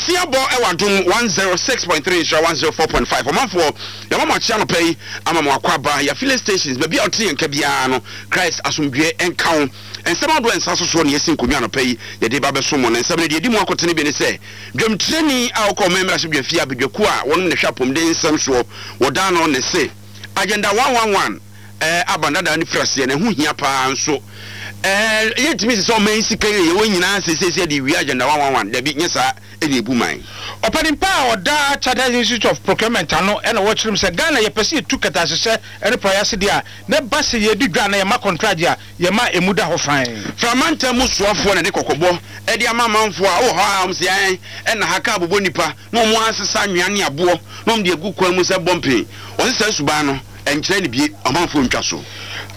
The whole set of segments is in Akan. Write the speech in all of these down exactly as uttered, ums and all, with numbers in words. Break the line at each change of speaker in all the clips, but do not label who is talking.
Nonsia bɔ ɛwɔ Adom one zero six point three, Nhyira one zero four point five. Ɔmanfoɔ, yɛma mo akyea nɔpɛ yi, ama mo akɔ aba yɛ filling stations, baabi a ɔte yɛn nka biara no. Christ asomdwoeɛ ɛnka wo. Nsɛm ahodoɔ nsa so soɔ ne yɛsi nkonnwa anɔpɛ yi yɛde ba bɛso mo. No nsɛm no deɛ ɛdi mu akotene bi ne sɛ dwamtirani a wɔkɔ ɔman mmarahyɛbadwa fie abadwakuo a wɔnom ne hwɛ apɔmuden nsɛm soɔ wɔda no ne se Agenda one one one ɛɛ aban dada ne firi aseɛ na ɛho hia paa nso ɛɛ yɛntumi sɛ sɛ ɔman yi sika yi yɛwɔ nyinaa seesiesie de wie Agenda one one one. Dabi, nyɛ saa ɛna ebu man.
Ɔpanimpa a ɔda Chartered Institute of Procurement ano ɛna wɔkyerɛ mu sɛ Ghana yɛpɛ sɛ yɛtu kɛtɛasehyɛ ɛne praeɛ ase deɛ a na ɛba sɛ yɛdi dwa na yɛma contract a yɛma emu da hɔ fan.
Framantam mu soafoɔ na de kɔkɔbɔ ɛde ama amanfoɔ a wɔ hɔ a wɔn sɛ ɛn ɛna ha kaa bobɔ nipa na wɔn asesa anwea ne aboɔ na wɔn de agu kwan mu sɛ bɔmpen. Wɔn sɛ suban no ɛnkyerɛ ne bie, ɔmanfoɔ ntwa so.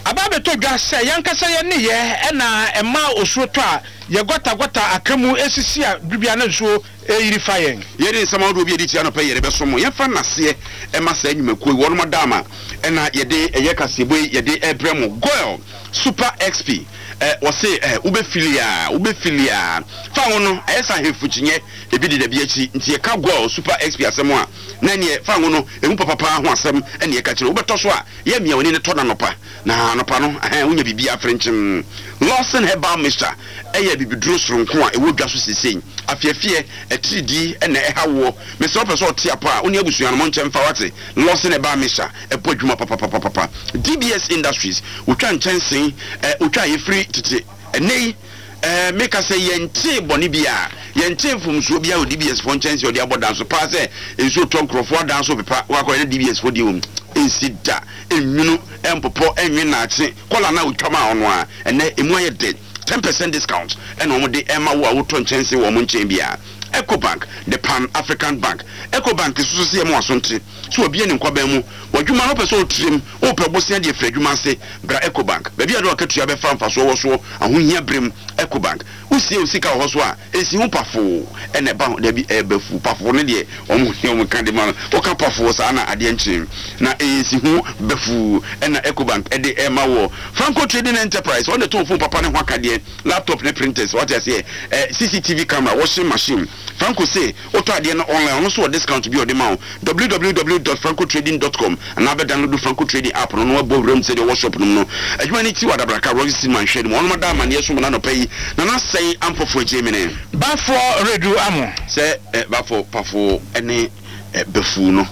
Aba abɛtɔ dwa sɛ yɛnkasa yɛ ne yɛ ɛna ɛma osuo tɔ a yɛ gɔtagɔta aka mu esisi a biribia na nsuo ɛyiri fa yɛn.
Yɛde nsɛm ahodoɔ bi a yɛde tia nɔpɛ yɛde bɛso mo. Yɛmfa nnaseɛ ɛma saa nnwumakuo yi wɔnom adaama ɛna yɛde ɛyɛ kaseɛbɔ yi yɛde ɛbrɛ mo. Goil Super X P ɛ wɔse ɛ wobɛfili a wobɛfili a fa ho no ɛyɛ sɛ ahemfo kyinyɛ ebi deda bi akyi. Nti yɛka Goil Super X P asɛm a na neɛ fa ho no ɛmu papapaa ho asɛm ɛne yɛka kyerɛ. Wobɛtɔ so a yɛ mmea w'ani ne tɔ na nɔpa na anɔpa no ɛhɛn wonya biribi afrenkyem. Lawson Herbal Mixture ɛyɛ bibiduro soronko a ɛwɔ dwa so sesei. Afiafie atiridii ɛna ɛha woɔ, mesɛ wopɛ sɛ ɔte apɔ a wo ne abusua no mo nkyɛn fa wate. Lawson Herbal Mixture ɛbɔ adwuma papapapapa. D B S Industries wotwa nkyɛnsee ɛ wotwa a yɛfiri tete ɛnɛ yi ɛɛ meka sɛ yɛntee bɔne bi a yɛntee mfomsoɔ bi a wɔ D B S foɔ nkyɛnsee ɔde abɔ dan so paa sɛ nsuo tɔ nkurɔfoɔ adan so pepa wakɔ ɛne D B S foɔ deɛ wɔ mu ɛnsi da, ɛnwunu, ɛmpopɔ, ɛnwe naakye kɔla na otwa ma ɔno a ɛnɛ emu ayɛ dɛ. Ten percent discount ɛna wɔn de ɛma wo a wotɔ nkyɛnsee wɔ wɔn nkyɛn biara. Ecobank, the Pan African Bank, Ecobank soso sɛ yɛ mo aso nte so wabie ne nkwaban mu w'adwuma no wopɛ sɛ wotirim wopɛ bosea deɛ firi adwuma ase bra Ecobank, baabi a de wakatua bɛfa mfasoɔ wɔ soɔ ahohia berem. Ecobank, wosie wo sika wɔ hɔ so a ɛsi ho pafoo ɛna ɛba ho dabi ɛbɛfu pafoo no deɛ ɔmo ne ɔmo ka de ma no woka pafoo saa na adeɛ nkyɛn na ɛyɛ si ho bɛfuu ɛna Ecobank ɛde ɛma wɔ. Franco Trading Enterprise, wɔn de tɔn phone papa ne ho akadeɛ, laptop ne printers, wate aseɛ, ɛ C C T V camera, washing machine. Franco se wotɔ adeɛ no online, ɔno nso wɔ discount bi a ɔde ma wo. W W W dot francotrading dot com anaa bɛ download Franco Trading app no na wabɔ wuram sɛdeɛ ɔwɔ shop no mu no. Adwuma no ti wɔ Adabraka, Roxy Cinema nhwɛ no mu. Ɔnom ada amanneɛ so mu na anɔpa yi Nana Sɛn Ampɔfo agye mene.
Bafoɔ redu amo.
Sɛ ɛ bafo pafo ne ɛ bɛfuu no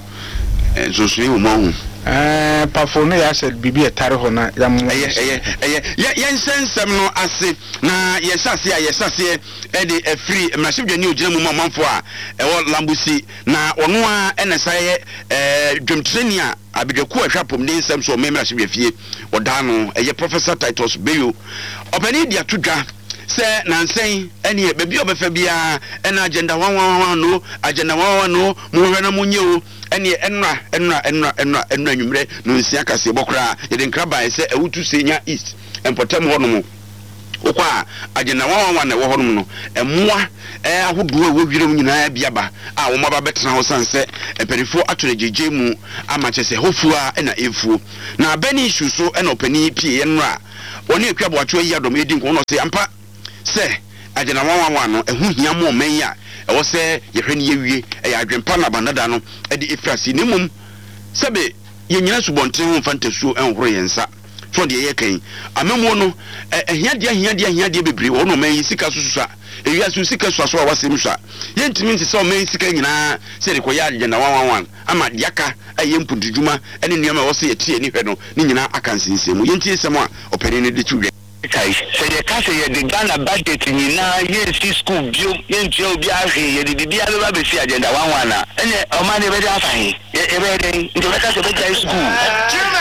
ɛ nsonsonoe wɔ mu ahu.
Ɛɛ pafo no yɛ asɛ biribi ɛtare hɔ na yam.
Ɛyɛ ɛyɛ ɛyɛ yɛ yɛnhyɛ nsɛm no ase na yɛhyɛ aseɛ a yɛhyɛ aseɛ ɛde ɛfiri mmarahyɛbadwani ogyina mu ma ɔmanfoɔ a ɛwɔ Lambusi na ɔno a ɛna sa yɛ ɛɛ dwamtirani a abadwakuo a ɛhwɛ apɔmuden nsɛm so ɔman mmarahyɛbadwa fie ɔdaa no ɛyɛ Professor Titus Beyo. Ɔpanin de ato dwa sɛ nansɛn ɛneɛ baabi a ɔbɛfa biara ɛna Agenda one one one no, Agenda one one no, mohwɛ na monyɛ o. Ɛneɛ ɛnora ɛnora ɛnora ɛnora ɛnora anwummerɛ no nsia kaseɛ bɔ koraa yɛde nkra baeɛ sɛ Awutu Senya East mpɔtam hɔ nom wokɔ a Agenda one one one na ɛwɔ hɔ nom no, mmoa ɛɛ ahodoɔ a ɛwɔ wiram nyinaa bi aba a wɔn aba bɛtena hɔ san sɛ mpanimfoɔ ato no gyegye mu ama kyerɛ sɛ hɔ fuo a ɛna ɛfuo na abɛn issue so. Ɛna ɔpanin pie yɛn nora wɔne Akua Aboakyewa yi adɔm edi nkɔmɔ na ɔsɛ ampa sɛ Agenda one one one no ɛho hia mo ɔman yi a ɛwɔ sɛ yɛhwɛ ne yɛwie. Ɛyɛ adwempa na abandada no ɛde efiri ase na mmom sɛbe yɛnyina subɔnten ho mfa ntasuo ɛnhoro yɛn nsa so deɛ yɛka yi amamuo no ɛhiadeɛ ahiadeɛ ahiadeɛ bebree wɔ hɔ na ɔman yi sika so susua ewiase sika sua so a wasɛm sua. Yɛntumi nte sɛ ɔman yi sika nyinaa sɛ yɛde kɔyɛ Agenda one one one ama deɛ aka ɛyɛ mpuntudwuma ɛne nneɛma a ɛwɔ sɛ yɛte ani hwɛ no ne nyinaa aka nsensɛn mu. Yɛntie nsɛm a ɔpanin no de to dwa.
Kae sɛ yɛka sɛ yɛde Ghana budget nyinaa yɛnsi school biom, yɛntua obiara hwee, yɛde biribiara bɛba bɛsi Agenda one one a, ɛnɛ ɔman no yɛbɛde afa he? Yɛbɛyɛ dɛn? Nti yɛbɛka sɛ yɛbɛgyae school,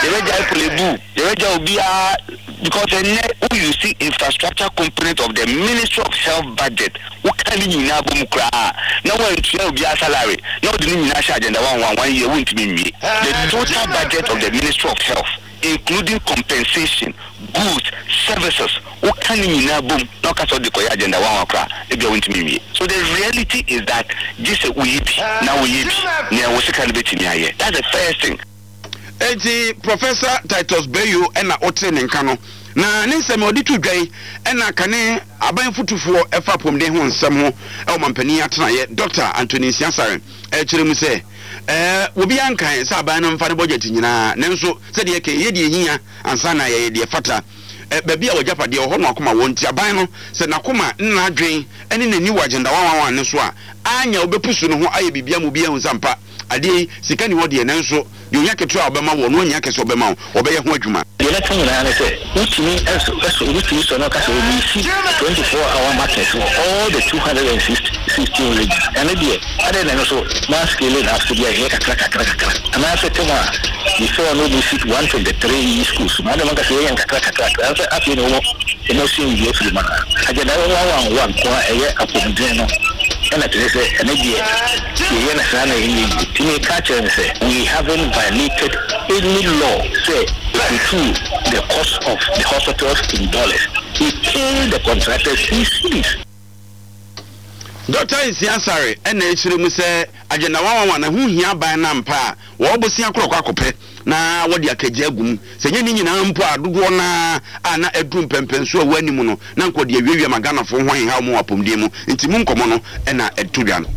yɛbɛgyae Korle Bu, yɛbɛgyae obiara, because ɛnɛ wo you see infrastructure component of the Ministry of Health budget, woka ne nyinaa bɔ mu koraa na woantua obiara salary na wode ne nyinaa hyɛ Agenda one one one year, wontumi nwie. The total budget of the Ministry of Health, including compensation, goods, services, woka ne nyinaa bom na woka sɛ wode kɔyɛ Agenda one one koraa, ebia wontumi nwie. So the reality is that gye sɛ woyi bi na woyɛ bi nea wo sika no bɛtumi ayɛ. That's the first thing.
Eti Professor Titus Beyo ɛna ɔte ne nka no Na ne nsɛm a ɔde to dwa yi ɛna kane aban fotufoɔ ɛfa apɔmuden ho nsɛm ho ɛwɔ mampanin atenaeɛ, Doctor Anthony Nsiah Asare, ɛkyerɛ mu sɛ ɛɛ obi ankan sɛ aban no mfa ne budget nyinaa, nanso sɛdeɛ ɛkɛ yɛ deɛ hia ansa na yɛyɛ deɛ fata. Ɛ baabi a wɔgyapadeɛ wɔ hɔ no akoma wɔ, nti aban no sɛ n'akoma ne n'adwen ne n'ani wɔ Agenda one one one ne so a, anya wobɛpusu ne ho ayɛ biribi ama obi ahu sɛ ampa adeɛ yi sika ni hɔ deɛ, nanso deɛ ohia ketewa a ɔbɛma wɔ no anya kɛse ɔbɛma wo, ɔbɛyɛ ho adwuma.
Deɛ ɛbɛka nyinaa ne sɛ wotumi ɛso ɛso wotumi sɔ no ɔka sɛ wɔmesi twenty four hour market wɔ all the two hundred and sixteen regions. Ɛno deɛ, adɛn na ɛno so ma scaling up so bi a ɛyɛ kakra kakra kakra, anaasɛ tem a before no wɔsi one twenty three schools no, adɛn manka sɛ yɛyɛ nkakra kakra kakra sɛ afei na wɔn wɔn asua biribi afiri mu anaa? Agenda one one one nko a ɛyɛ apɔmuden no ɛna kyerɛ sɛ ɛno deɛ yɛyɛ no saa na ɛnyɛ yie. Nti meka kyerɛ no sɛ we haven't violated any law sɛ ɛkutu the cost of the hospitals in dollars. We pay the contractors in cedis.
Doctor Nsiah Asare ɛna ɛkyerɛ mu sɛ Agenda one one one ɛho hia aban no ampa a, wɔwɔ bosea korɔkɔ akɔpɛ na wɔde akagya agu mu sɛ nyɛ ne nyinaa mpo a, dodoɔ naa a na ɛduru mpɛmpɛnso a wɔanim no na nkɔde awiawia ma Ghanafoɔ ho ahenha wɔn wɔ apɔmuden mu, nti mu nkɔmmɔ no ɛna ɛto dwa no.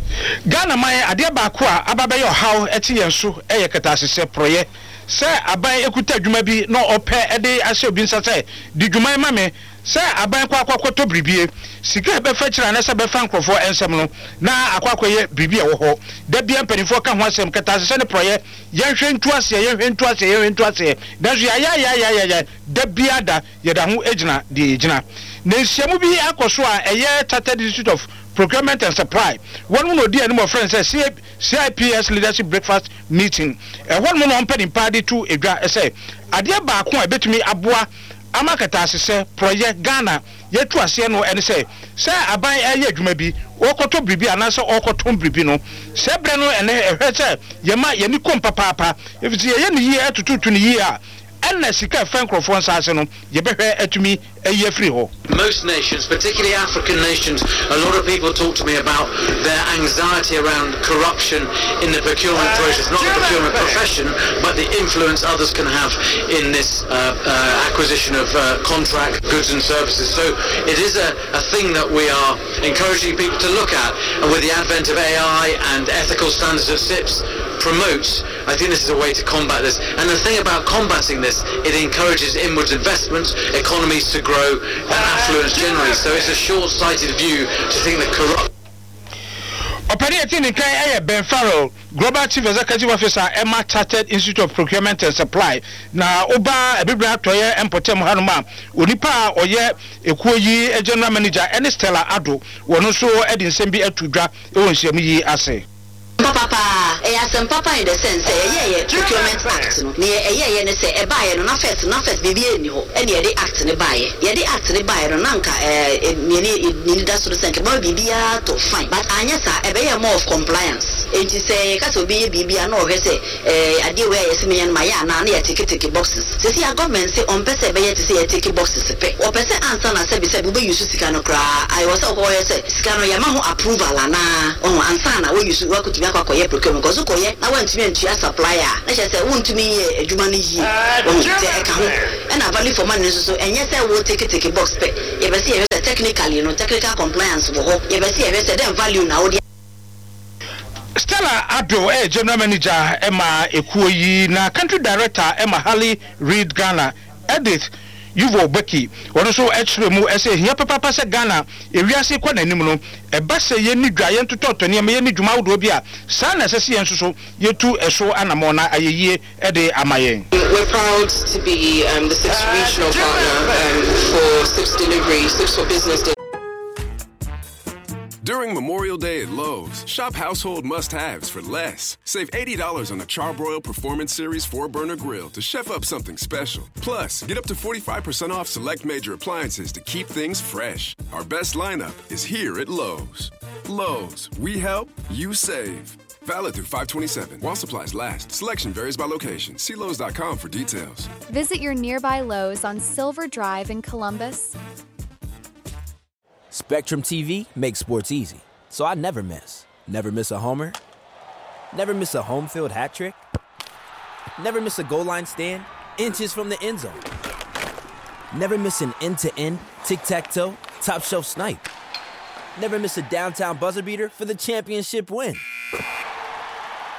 Ghana man, adeɛ baako a aba bɛyɛ ɔhaw ɛte yɛn so ɛyɛ kɛtɛasehyɛ porɔyɛ. Sɛ aban ekuta adwuma bi na ɔpɛ ɛde ahyɛ obi nsa sɛ di dwuma yi ma me, sɛ aban kɔ akɔ akɔtɔ biribie, sika bɛfa kyerɛ anasɛ bɛfa nkurɔfoɔ nsɛm no na akɔ akɔyɛ biribi a ɛwɔ hɔ da bia mpanimfoɔ ka ho asɛm, kɛtɛasehyɛ ne porɔyɛ. Yɛnhwɛ ntu aseɛ, yɛnhwɛ ntu aseɛ, yɛnhwɛ ntu aseɛ, nanso yɛayɛayɛayɛayɛ da bia da yɛda ho gyina deɛ yɛgyina. Na nhyiamu bi akɔ so a ɛyɛ Chartered Institute of Procurement and Supply wɔn mu na odi anim, ɔfrɛ no sɛ C I P S Leadership Breakfast Meeting. Ɛhɔ nom na ɔmpɛ nipa de to edwa sɛ adeɛ baako a ɛbɛtumi aboa ama kɛtɛasehyɛ porɔyɛ Ghana yɛtu aseɛ no ɛne sɛ sɛ aban ɛyɛ adwuma bi, ɔrekɔtɔ biribi anaasɛ ɔrekɔtɔn biribi no, sɛ berɛ no ɛnɛ ɛhwɛ sɛ yɛma yɛni kɔm papaapa, ɛfiri yɛyɛ ne yie, ɛtototo ne yie a, ɛna sika ɛfɛ nkurɔfoɔ nsa ase no yɛbɛhwɛ atumi ayi afiri hɔ.
Most nations, particularly African nations, a lot of people talk to me about their anxiety around corruption in the procurement process, not the procurement profession, but the influence others can have in this uh, uh, acquisition of uh, contract goods and services. So it is a, a thing that we are encouraging people to look at, and with the advent of A I and ethical standards that CIPS promotes, I think this is a way to combat this. And the thing about combating this, it encourages inwards investment, economies to grow, and affluence generally. So it's a short-sighted view to think that corrupt
Ɔpɛni ɛti ne kan ɛyɛ Ben Farrell, Global Chief Executive Officer ɛma Chartered Institute of Procurement and Supply. Na ɔba Abibire Atɔyɛ mpɔtam hanom a, onipa a ɔyɛ ekuo yi general manager ɛne Stella Ado, wɔn nso ɛde nsɛm bi ato dwa ɛwɔ nhyiamu yi ase.
Papa, ɛyɛ asɛm papa in the sense sɛ ɛyɛyɛ Procurement Act no, neɛ ɛyɛyɛ ne sɛ ɛbaeɛ no na first na first biribi ɛnni hɔ, ɛne yɛde act ne baeɛ. Yɛde act ne baeɛ no na nka ɛɛ nea nini da so no sɛ nka ɛbɛma biribiara tɔ fine, but anyɛ saa, ɛbɛyɛ more of compliance. Enti sɛ yɛka sɛ obi yɛ biribi a, na ɔhwɛ sɛ ɛɛ adeɛ wei a yɛsɛ meyɛ no ma yɛ anaa, na yɛtick tick boxes. Sisi a government sɛ ɔmpɛ sɛ ɛbɛyɛ te sɛ yɛtick boxes pɛ, wɔpɛ sɛ ansa na sɛbi sɛbi wobɛyi so sika no koraa ayɛ wɔ sɛ wokɔyɛ sɛ sika no yɛma ho approval anaa ɔho ansa na woyi so wakotumi akɔ akɔyɛ procurement, kɔso kɔyɛ na woantumi antua supplier a, na kyerɛ sɛ wontumi yɛ adwuma no yie ɔho. Sɛ ɛka ho ɛna value for money nso so, ɛnyɛ sɛ wo tick tick box pɛ. Yɛbɛ sɛ yɛhwɛ sɛ technically no, technical compliance wɔ hɔ. Yɛbɛ sɛ yɛhwɛ sɛ dɛn value na wode
Stella Ado ɛyɛ general manager ɛma ekuo yi, na country director ɛma Harley Reid Ghana, Edith Yuvo Becky, wɔn nso ɛkyerɛ mu ɛsɛ ehia papaapa sɛ Ghana ewiase kɔ n'anim no, ɛba sɛ yɛn ni dwa, yɛn totɔtɔ nneɛma, yɛn ni dwuma ahodoɔ bi a saa na ɛsɛ sɛ yɛn nso so yɛtu ɛso anamɔ na ayɛ yie ɛde ama yɛn.
We're proud to be um, the CIPS regional partner um, for CIPS delivery, CIPS for Business delivery.
During Memorial Day at Lowe's, shop household must haves for less. Save eighty dollars on a Charbroil Performance Series four burner grill to chef up something special. Plus, get up to forty-five percent off select major appliances to keep things fresh. Our best lineup is here at Lowe's. Lowe's, we help, you save. Valid through five twenty-seven while supplies last. Selection varies by location. See Lowes dot com for details.
Visit your nearby Lowe's on Silver Drive in Columbus.
Spectrum T V makes sports easy, so I never miss. Never miss a homer. Never miss a home field hat trick. Never miss a goal line stand inches from the end zone. Never miss an end-to-end, tic-tac-toe, top-shelf snipe. Never miss a downtown buzzer beater for the championship win.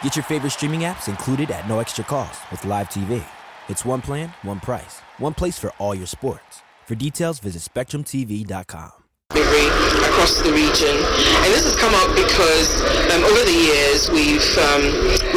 Get your favorite streaming apps included at no extra cost with Live T V. It's one plan, one price, one place for all your sports. For details, visit Spectrum T V dot com.
Delivery across the region. And this has come up because um, over the years we've um,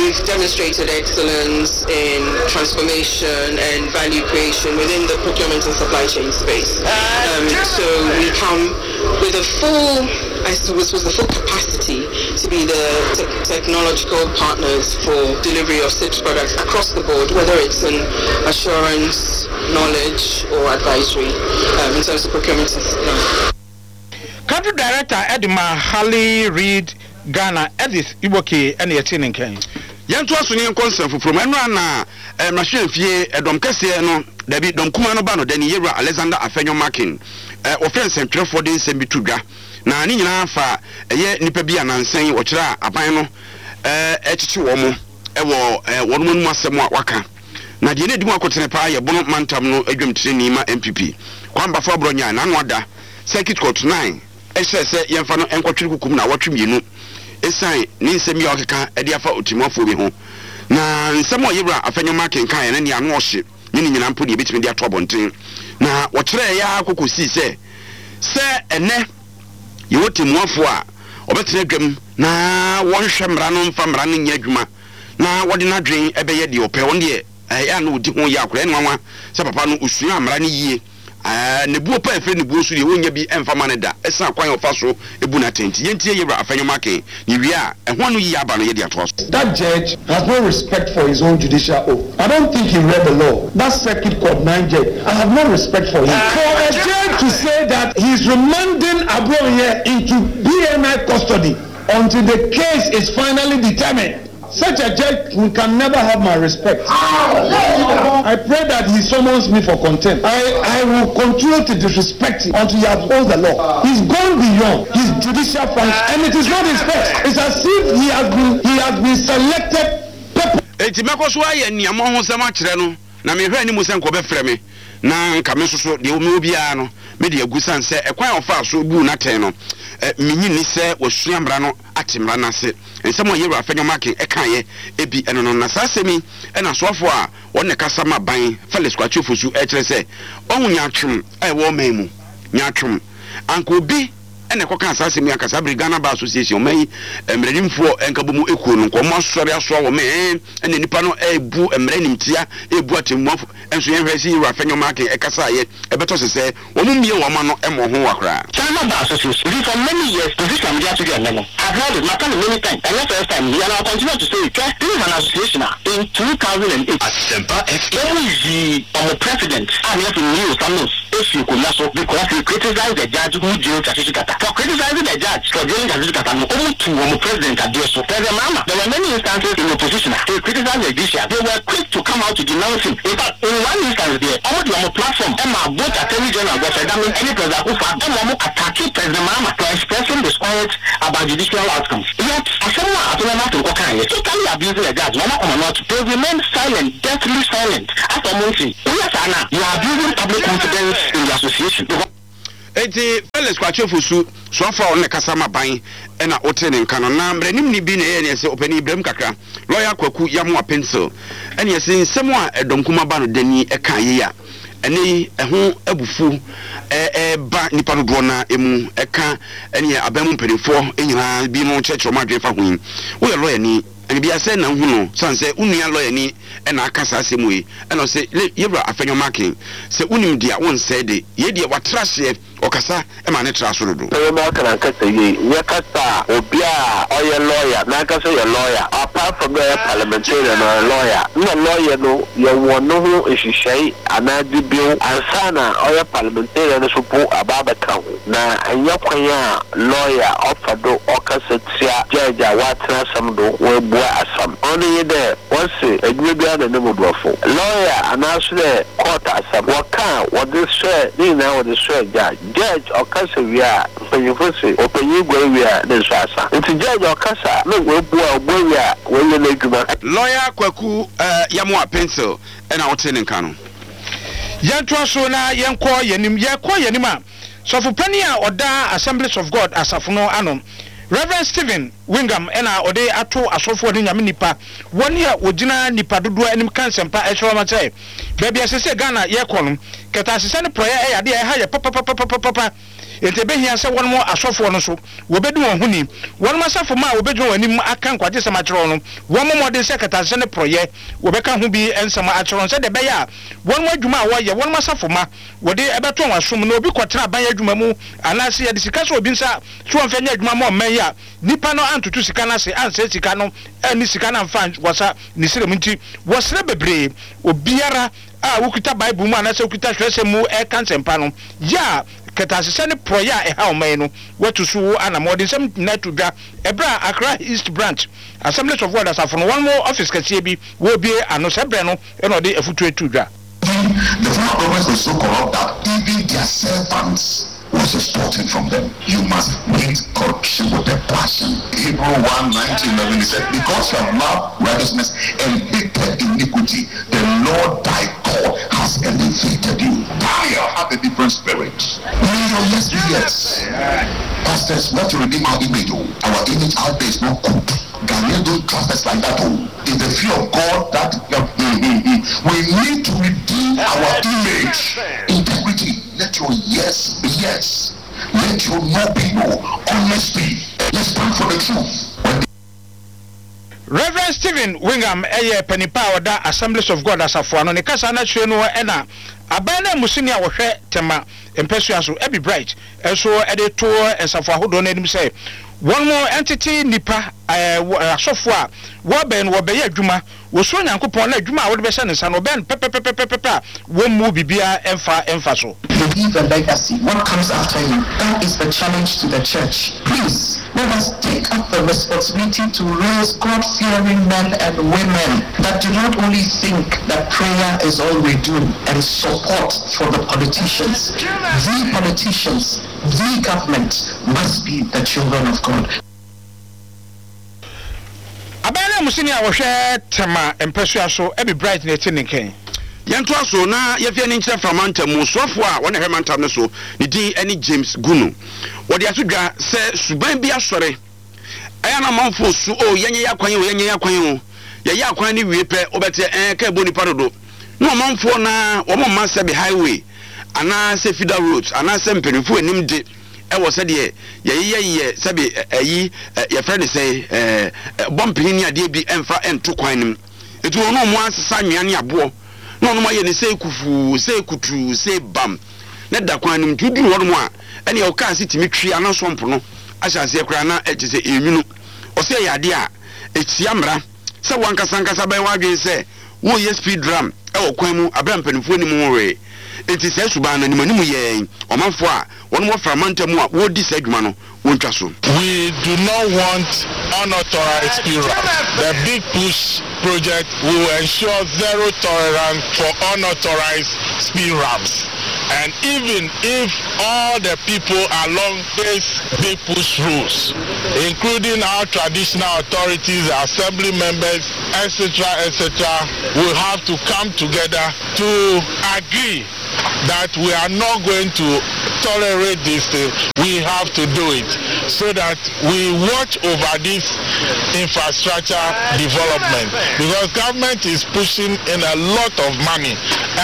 we've demonstrated excellence in transformation and value creation within the procurement and supply chain space. Um, so we come with a full, I suppose, was the full capacity to be the te- technological partners for delivery of CIPS products across the board, whether it's in assurance, knowledge, or advisory um, in terms of procurement and supply.
Country director ɛde ma Harley Reid Ghana, Edith Iboke, ɛna yɛte ne nkan.
Yɛnto aso ne yɛnkɔ nsɛm foforɔ mu. Ɛno ana mmarahyɛmfie ɛdɔm kɛseɛ no, dabi, dɔm kuma no ba no dani yɛwura Alexander Afenyo Markin, wɔfrɛ nsɛntwerɛfoɔ de nsɛm bi to dwa, na ne nyinaa fa ɛyɛ nnipa bi anansɛn wɔkyerɛ a aban no ɛkyekye wɔn mo ɛwɔ wɔn anom asɛm a waka. Na deɛ ne edi mu akotene paa yɛ Bono mantam no adwamtireni ma N P P, Kwame Baffoe Abronye. N'ano ada Circuit Court nine ɛhyɛ sɛ yɛmfa no nkɔtwere kukum na awɔtwe mmienu ɛsiane ne nsɛm yi a ɔkeka ɛde afa otimuafoɔ bi ho. Na nsɛm a yɛwura Afenyo Markin kaeɛ no ne ano ɔhye ne ne nyinaa mpo deɛ ɛbɛtumi de ato abɔnten, na wɔkyerɛɛ yɛ akɔkɔ sii sɛ sɛ ɛnɛ yɛwɔ temmuafoɔ a ɔbɛtena dwam na wɔnhwɛ mmara no, mfa mmara no nyɛ adwuma, na wɔde n'adwen ɛbɛyɛ deɛ ɔpɛ. Wɔn deɛ ɛyɛ a na ɔdi ho yɛ akora. Ɛne nwanwa sɛ papa no osua mmara no yie, ne buo pa ɛfiri ne buo so deɛ wɔnya bi ɛmfa ma no da, ɛsan kwan a ɔfa so ebu n'atɛnti. Yɛntie yɛwura Afenyo Markin ne wie a ɛho ano yie aba no, yɛde atoa so.
That judge has no respect for his own judicial oath. I don't think he read the law. That Circuit Court nine judge, I have no respect for him. For a judge to say that he's remanding Abronye into B N I custody until the case is finally determined, such a judge can never have my respect. I pray that he summons me for contempt. I, I will continue to disrespect him until he upholds the law. He's gone beyond his judicial function, and it is not his first. It's as if he has been he has been selected.
Eti mɛkɔ so ayɛ nneɛma ho sɛm akyerɛ no, na mehwɛ anim sɛ nkɔbɛfrɛ me na nka me nso so deɛ mewɔ biara no mede agu san sɛ ɛkwan a ɔfaa so buu n'atɛn no, menyi ni sɛ wasua mmara no, ate mmara no ase. Nsɛm a yɛwura Afenyo Markin ɛkaeɛ ebi ɛno no. Na saa asɛm yi ɛna asoafoɔ a wɔn ne kasa ma ban, Felix Kwakye Ofosu, ɛkyerɛ sɛ ɔho nyaatwom a ɛwɔ ɔman mu nyaatwom anka obi ɛna ɛkɔka saa asɛm yi ankasa abere Ghana Bar Association, ɔman yi mmaranimfoɔ ɛnka bɔ mu ekuo no, nkɔmɔ asɔre asoa wɔ mɛ ɛna nipa no ɛɛbu mmara nimtia, ɛɛbu atemmuafo. Ɛnso yɛn hwɛ sɛ yɛwura Afenyo Markin ɛkasa ayɛ ɛbɛtɔ sɛ sɛ wɔn mu mmie wɔn ano ɛmɔ ho wa koraa.
Ghana Bar Association, for many years, position I'm just to know. I've heard it, maka many times. And not first time, and I'll continue to say it. This is an association in two thousand eight.
Asempa F M.
Ɔmo ɔmo president, a ne yɛfrɛ Leo Samuels, efi akonnwa so because he criticized the judge who jailed Tsatsu Tsikata. For criticizing the judge for jailing Tsatsu Tsikata, no, ɔmo tu ɔmo president adeɛ so. President Mahama, there were many instances in opposition. He criticized the judiciary. They were quick to come out to denounce him. In fact, in one instance there, ɔmo de ɔmo platform ɛma both Attorney General Godfrey Dame ɛne President Akufo-Addo ɛma ɔmo attacking President Mahama for expressing disquiet about judicial outcomes. Yet, asɛm a Afenyo Markin kɔka yɛ totally abusing the judge, na ɔmo akɔma not. They remain silent, deathly silent. After ɔmo nti, woyɛ saa na you are abusing public confidence in the association. Because
Eti Felix Kwakye Ofosu, soafo a ɔno ne kasa ma ban, ɛna wote ne nka no. Na mmaranimni bi na ɛyɛ ne ɛsɛ ɔpanin Ibrahim kakra, lawyer Kwaku Yamoa Pencil, ɛne ɛsɛ nsɛm a ɛdɔm kuma ba no dani ɛka yie a ɛnɛ yi ɛho abufuo ɛɛba nipa dodoɔ na emu ɛka ɛne aban mu mpanimfoɔ nyinaa bi no kyerɛkyerɛ wɔn adwene fa ho yi. Woyɛ lawyer ni ɛne bi asɛ na nhu no san sɛ wo nua lawyer ni ɛna aka saa asɛm yi, ɛna ɔsɛ yɛwura Afenyo Markin sɛ wonim deɛ wonsɛe de yɛ deɛ watra aseɛ ɔkasa ɛma ne tra so dodo.
Ɛyɛ aka na nkasa yie nyɛ kasa a obi a ɔyɛ lawyer n'ankasa yɛ lawyer, apart from dɛ ɔyɛ parliamentarian, ɔyɛ lawyer na lawyer no yɛwɔ ne ho nhyehyɛe anaa dibew ansa na ɔyɛ parliamentarian no so po aba abɛka ho, na ɛnyɛ kwan a lawyer ɔfa do ɔkasa tia judge a watena asɛm do wɔabua asɛm. Ɔno nye dɛ wɔse adwuma biara na ne mu borɔfo lawyer anaaso dɛ court asɛm wɔka a wɔde sɔɛ ne nyinaa wɔde sɔɛ judge. Judge ɔkasa wie a, mpanyinfo se ɔpanyin gua wie a ne nso asa, nti judge ɔkasa na wabua ɔbua wie a wɔyɛ n'adwuma.
Lawyer Kwaku uh, Yamoa Pencil ɛna wote ne nka no.
Yɛntoa so na yɛnkɔ yɛnim. Yɛkɔ yɛnim a, sɔfopanin a ɔda Assemblies of God asafo no ano, Reverend Stephen Wingham, ɛna ɔde ato asɔfoɔ ne Nyame nipa wɔne a wɔgyina nipa dodoɔ anim ka nsɛmpa ɛkyerɛ wɔn sɛ baabi a sɛ Ghana yɛkɔ no, kɛtɛasesɛ ne porɔeɛ ɛyɛ adeɛ a ɛha yɛ papapapapapa. Enti ɛbɛhia sɛ wɔnom asɔfoɔ no nso wɔbɛdi wɔn ho ni. Wɔnom asafo mma a wɔbɛgyina wɔn anim aka nkwagyesɛm akyerɛ wɔn no, wɔmmɔ mmɔden sɛ kɛtɛasesɛ ne porɔeɛ wɔbɛka ho bi nsɛm akyerɛ wɔn sɛdeɛ ɛbɛyɛ a wɔnom adwuma a wɔyɛ, wɔnom asafo mma wɔde ɛbɛto wɔn asom. Na obi kɔtena aban adwuma mu anaasɛ yɛde sika sɛ obi nsa so wɔmfa nyɛ adwuma ma ɔman yi a, nipa no antoto sika no ase, ansɛe sika no, anni sika no amfa anwasa ne serem nti, wɔsrɛ bebree. Obiara a wokita Bible mu anaasɛ wokita twerɛsɛm mu ɛka nsɛmpa no, yɛ a kɛtɛasesɛ ne porɔeɛ a ɛha ɔman yi no, wɔatu so anammɔn. Wɔde nsɛm nyinaa to dwa ɛberɛ a Accra East Branch Assemblies of God asafo no wɔn office kɛseɛ bi wɔrebue ano sɛ berɛ no ɛna ɔde afutuo to dwa.
The former government was so corrupt that even their servants was extorting from them. You must hate corruption with a passion. Hebrew one, nine to eleven, he said, because you have loved righteousness and hated iniquity, the Lord thy God has elevated you. Daniel had a different spirit. May your yes be yes. Pastors, we have to redeem our image. Oh. Our image out there is not good. Ghanaians don't trust us like that. Oh. In the fear of God, that mm, mm, mm, we need to redeem our image. Integrity. Let your yes be yes. Let your no be no. Honesty. Let's stand for the truth. When
Reverend Stephen Wingham ɛyɛ panipa a ɔda Assemblies of God asafo ano. Ne kasa no akyerɛ no ɛna aban no amusini a wɔhwɛ Tema mpɛsua so, Ebi Bright, nso ɛde to nsafo ahodoɔ no anim sɛ wɔn mo ntete nipa ɛɛ asɔfo a wɔbɛn no wɔbɛyɛ adwuma wɔsuro Nyankopɔn na adwuma a wɔde bɛhyɛ ne nsa no wɔbɛn pɛpɛpɛpɛpɛ a wɔn mu biribiara ɛmfa ɛmfa so.
You leave a legacy. What comes after you? That is the challenge to the church. Please, let us take up the responsibility to raise God-fearing men and women that do not only think that prayer is all we do and support for the politicians. The politicians, the government must be the children of God.
Aban no amusini a wɔhwɛ Tema mpɛsua so, Ebi Bright, na ɛte ne nkɛn.
Yɛntoa so na yɛfie ani nkyerɛ Fra mantam mu soafoɔ a wɔne hwɛ mantam no so, ne din ne James Gunu. Wɔde ato dwa sɛ suban bi asɔre ɛyɛ na amanfoɔ su o, yɛnyɛ yɛ akwan o, yɛnyɛ yɛ akwan o. Yɛyɛ akwan no wie pɛ, wobɛte ɛɛ ka ɛbɔ nipa dodo na ɔmanfoɔ na wɔn mma sɛbe highway anaasɛ feeder roads anaasɛ mpanimfoɔ anim de ɛwɔ sɛdeɛ yɛyeyɛ yɛ sɛbe ɛyi yɛfrɛ ne sɛ ɛɛ bɔmpene ne adeɛ bi ɛmfa ɛnto kwan no mu. Eti wɔn a wɔn asesa anwea ne aboɔ na wɔn ayɛ ne sɛ kufuu sɛ kutuu sɛ bam na da kwan no mu. Nti woduru hɔnom a, ɛnea ɔkaa se tumi twe ana sɔmpo no ahyɛ aseɛ koraa na ɛkyɛ sɛ ɛnwunu. Ɔsɛ ɛyɛ adeɛ a ɛtia mmara sɛ wankasa nkasa bɛyɛ w'adwene sɛ woyɛ speed ramp ɛwɔ kwan mu abere mpanimfoɔ anim ho hwee. Nti saa suban no anim anim yɛn ɔmanfoɔ a wɔn wɔ Fra mantam mu a wɔredi saa adwuma no wɔntwa so.
We do not want unauthorized speed ramps. The Big Push project will ensure zero tolerance for unauthorized speed ramps. And even if all the people along this Big Push routes, including our traditional authorities, assembly members, et cetera, et cetera, will have to come together to agree that we are not going to tolerate this thing. We have to do it so that we watch over this infrastructure development, because government is pushing in a lot of money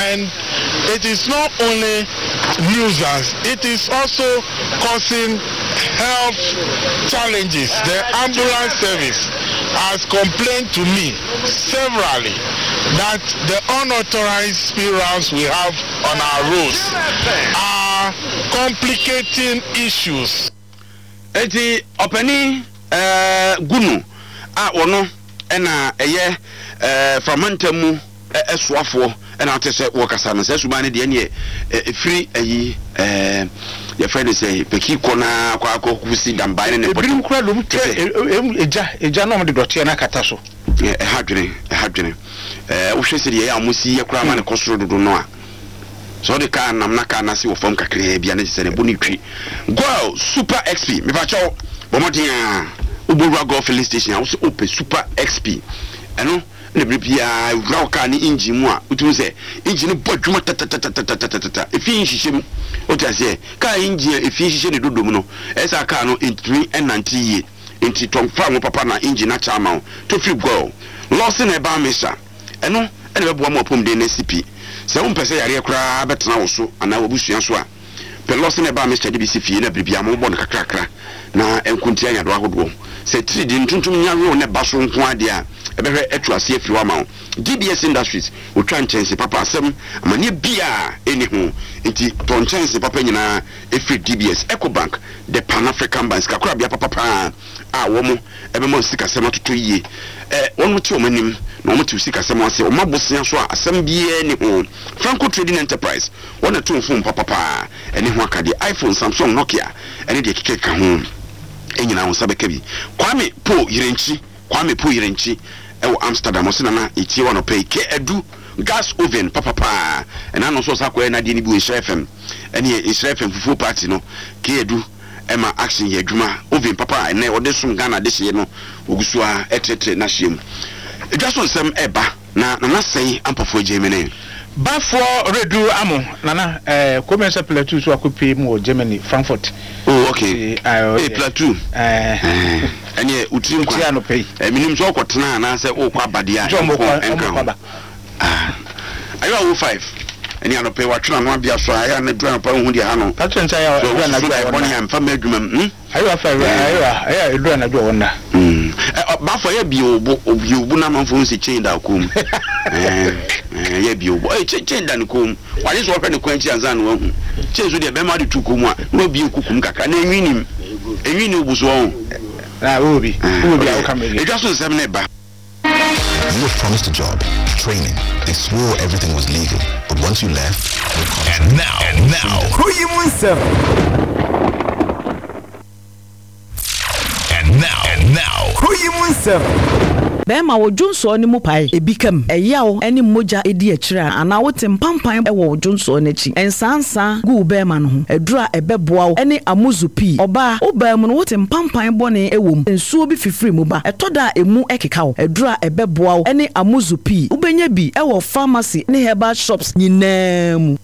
and it is not only nuisance, it is also causing health challenges. The ambulance service has complained to me severally that the unauthorized speed ramps we have on our roads are complicating issues.
Eti ɔpanin ɛɛ Gunu a wɔno ɛna ɛyɛ ɛɛ Fra mantam mu ɛsoafoɔ ɛna ate sɛ wɔkasa no sɛ suban no deɛ neɛ ɛfiri ayi ɛɛ yɛfrɛ no sɛ Pɛki kɔ naa kɔ akɔ kusi Damban ne ne
ebinom kura dom twɛ egya egya na ɔmo de dɔteɛ no akata so.
Ɛha dwene, ɛha dwene. ɛɛ wohwɛ sɛ deɛ ɛyɛ a ɔmo si yɛ koraa ma ne kɔ soro dodo no a, sɛ ɔde kaa nam na kaa n'ase wɔ fam kakraa bi a, ne kyerɛ sɛ ne bo ne twi. Goil Super X P, mepakyɛw, bɔ mmɔden a wobɔwura Goil filling station a wosɛ wopɛ Super X P, ɛno Na bere biara wura wo kaa ne engine mu a, wotumi sɛ engine no bɔ adwuma tatatatatata, efi nhyehyɛ mu. Wote aseɛ? Kaa engine a efi hyehyɛ ne dodom no, ɛyɛ sɛ kaa no ntumi nnante yie. Nti tɔ fa ngo papa na engine no akyɛ ama wo. Tɔ firi Goil Lawson Herbal Mixture. Ɛno na ɛbɛboa ma w'apɔmuden no asi pi. Sɛ wompɛ sɛ yareɛ koraa bɛtena wo so anaa w'abusua so a, pɛ Lawson Herbal Mixture de bi si fie na bere biara mobɔ no kakrakra na ɛnko ntia nyarewa ahodoɔ. Sɛ atiridii ntontom nya wew na ɛba so nko ara deɛ a, ɛbɛhwɛ atu aseɛ afiri hɔ ama wo. D B S Industries, wɔtwa nkyɛnse papa, asɛm amanneɛ biara nni ho nti tɔ nkyɛnse papa nyinaa firi D B S. Ecobank, the Pan-African Bank, sikakorabea papa paa a wɔn ɛbɛma wo sikasɛm atotɔ yie. Ɛ wɔn te wɔn anim na wɔn te wo sikasɛm ase, wɔn abosea so a asɛm biara nni ho. Franco Trading Enterprise, wɔn na ɛto phone papa paa ɛne ho akadeɛ, iPhone, Samsung, Nokia ɛne deɛ kekeka ho nyinaa, wo nsa bɛka bi. Kwame Po Yerenkyi, Kwame Po Yerenkyi ɛwɔ Amsterdam, ɔsɛ nana etie wa nɔpɛ yi kɛ adu gas oven papapaa ɛna no nso ɔsa akɔyɛ n'adeɛ no bi wɔ Nhyira F M, ɛne Nhyira F M fufuo party no. Ke adu ɛma action yɛ adwuma, oven papa a ɛnɛ ɔde som Ghana de hyeɛ no, ogu so a ɛtrɛtrɛ n'ahyia mu. Edwa so nsɛm ɛba na nana sɛn ampɔfoɔ Germany.
Bafoɔ redu amo nana ɛɛ Kɔmɛnsa Plateau so akɔpie mu wɔ Germany, Frankfurt.
Oh, okay. Ee, Plateau ɛɛ ɛneɛ wotiri nkwa.
Wotie anɔpɛ yi.
Ɛ minim sɛ ɔkɔtena anaasɛ ɔkɔ abadeɛ a
Nti ɔmo
ɛnkɔ
kɔ
ɛnka
ɔmo kɔ
ho.
Aba.
Ayɔ awo five ɛne anɔpɛ watwene ano abea so a ɛyɛ ana duru anɔpa wohu deɛ ha no.
Plateau nsa yɛ
so
ɛduru
wosusu
anadwo
da
a
ɛbɔne
wɔnna.
A mfa ma adwuma mu hmm?
Ayewa fa ayewa ɛyɛ ɛduru anadwo a wɔnna.
Mm. Ɛ, ɔ, baafo ɛyɛ bie wo bo, bie wo bo na amanfo hu sɛ chain da wo kɔn mu. Ɛɛ, ɛɛ, ɛyɛ bie wo bo. Ɛyɛ chain, chain da ne kɔn mu. Wagye sɛ ɔhwɛ ne kwan akyi ansa na wahu. Chain so deɛ bɛrima de tu kɔn mu a, na wabie kuku mu kakra na enwi nim. Enwi ni wo bo so ɔho.
Na wo bi wo bi a woka mi.
Edwa so nsɛm ne ba.
You were promised a job, training. They swore everything was legal. But once you left, no contract.
And now, and now,
Kuro yi mu nsɛm.
And now, and now,
Kuro yi mu nsɛm.
Bɛrima, wo dwonsɔɔ no mu pae, ebi kam, ɛyaw ne mogya edi akyire a, anaa wote mpampan wɔ wo dwonsɔɔ no akyi, nsansa gu wo bɛrima no ho, aduru a ɛbɛboa wo ne Amuzu Pii. Ɔbaa, wo baa mu no wote mpampan bɔne wɔ mu, nsuo bi fifiri mu ba, ɛtɔ da a emu ɛkeka wo, aduru a ɛbɛboa wo ne Amuzu Pii. Wobɛnya bi wɔ pharmacy ne herbal shops nyinaa mu.